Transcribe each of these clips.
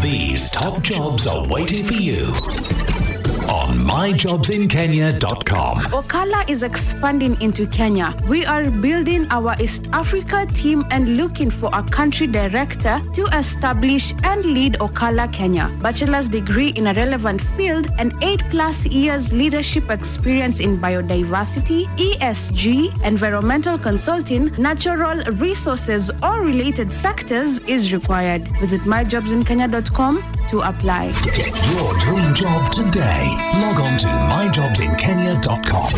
These top jobs are waiting for you on myjobsinkenya.com. Okala is expanding into Kenya. We are building our East Africa team and looking for a country director to establish and lead Okala Kenya. Bachelor's degree in a relevant field and 8+ years leadership experience in biodiversity, ESG, environmental consulting, natural resources, or related sectors is required. Visit myjobsinkenya.com to apply. Get your dream job today. Log on to myjobsinkenya.com.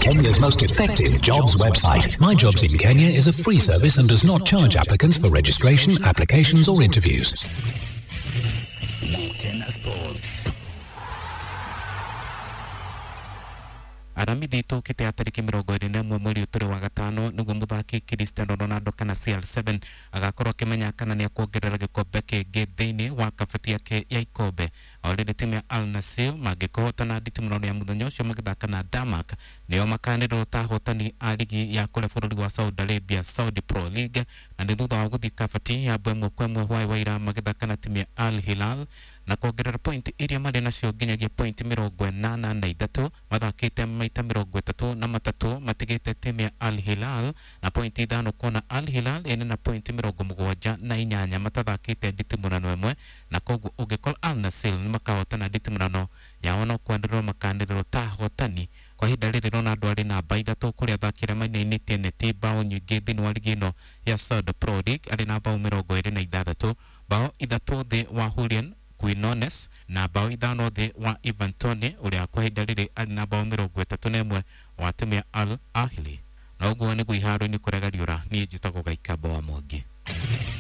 Kenya's most effective jobs website. My Jobs in Kenya is a free service and does not charge applicants for registration, applications, or interviews. Mukena Sports. Aramithi tũkĩte tarĩki 21 mweri ũyũ tũrĩ wa gatano nĩguo mũthaki Cristiano Ronaldo kana CR7 agakorwo akĩmenya kana nĩ akuongerera gĩkombe kĩngĩ thĩinĩ wa kabati yake ya ikombe. O rĩrĩ, timu ya Al Nassr mangĩkũhotana nditimũrano ya mũthenya ũcio magĩthaka na Denmark, nĩo makanĩrwo ta ahotani a ligi ya kũrĩa bũrũri wa Saudi Arabia, Saudi Pro League, na nĩ thutha wa gũthiĩ kabati ya 1-1 hwaĩ wa ira magĩthaka na timu ya Al Hilal na kuongerera point iria marĩ nacio nginyagia point 83, mathakĩte maita 33, matigĩte timu ya Al Hilal na point 5, kuona Al Hilal ĩna na point 78 matathakĩte nditimũrano ĩmwe. Na koguo ũngĩkorwo Al Nassr nĩ makahotana nditimũrano yao no kwanĩrĩrwo makanĩrĩrwo ta ahotani. Kwa ihinda rĩrĩ Ronaldo arĩ namba 3 kũrĩa athaki arĩa mainainĩtie neti bao nyingĩ thĩinĩ wa ligi ĩno ya Saudi Pro League, arĩ na bao 26, bao 3 thĩ wa Julian Quinones na bao 5 thĩ wa Ivan Toney, ũrĩa kwa ihinda rĩrĩ arĩ na bao 31 wa timu ya Al Ahly. Na ũguo nĩguo iharo-inĩ kũrega riũra. Niĩ njĩtagwo Gaikamba wa Mwangi.